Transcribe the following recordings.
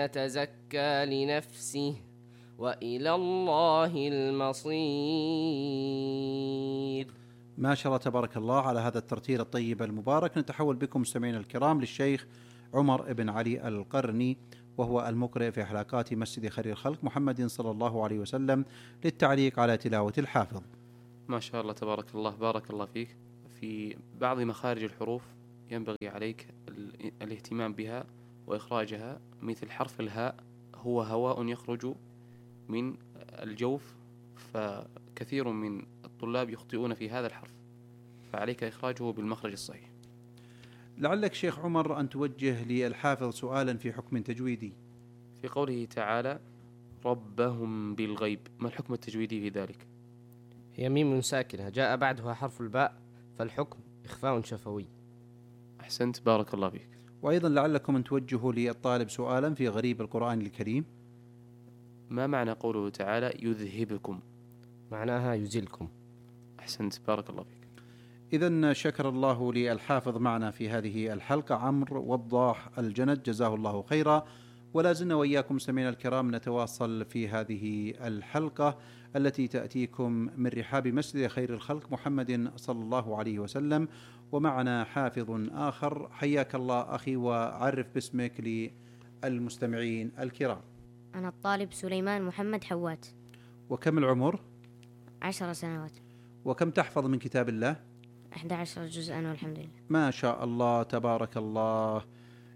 يتزكى لنفسه وإلى الله المصير. ما شاء الله تبارك الله على هذا الترتيل الطيب المبارك. نتحول بكم مستمعينا الكرام للشيخ عمر بن علي القرني، وهو المقرئ في حلقات مسجد خير الخلق محمد صلى الله عليه وسلم، للتعليق على تلاوة الحافظ. ما شاء الله تبارك الله، بارك الله فيك. في بعض مخارج الحروف ينبغي عليك الاهتمام بها وإخراجها، مثل حرف الهاء هو هواء يخرج من الجوف، فكثير من الطلاب يخطئون في هذا الحرف، فعليك إخراجه بالمخرج الصحيح. لعلك شيخ عمر أن توجه للحافظ سؤالا في حكم تجويدي. في قوله تعالى ربهم بالغيب، ما الحكم التجويدي في ذلك؟ هي ميم ساكنة جاء بعدها حرف الباء، فالحكم إخفاء شفوي. أحسنت، بارك الله فيك. وأيضا لعلكم أن توجهوا للطالب سؤالا في غريب القرآن الكريم. ما معنى قوله تعالى يذهبكم؟ معناها يزلكم. أحسنت، بارك الله فيك. إذن شكر الله للحافظ معنا في هذه الحلقة عمرو وضاح الجند، جزاه الله خيرا. ولا زلنا وإياكم سمعنا الكرام نتواصل في هذه الحلقة التي تأتيكم من رحاب مسجد خير الخلق محمد صلى الله عليه وسلم، ومعنا حافظ آخر. حياك الله أخي، وعرف باسمك للمستمعين الكرام. أنا الطالب سليمان محمد حوات. وكم العمر؟ 10 سنوات. وكم تحفظ من كتاب الله؟ 11 جزءا والحمد لله. ما شاء الله تبارك الله.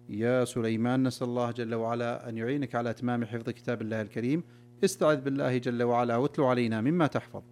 يا سليمان، نسأل الله جل وعلا أن يعينك على إتمام حفظ كتاب الله الكريم. استعذ بالله جل وعلا واتلو علينا مما تحفظ.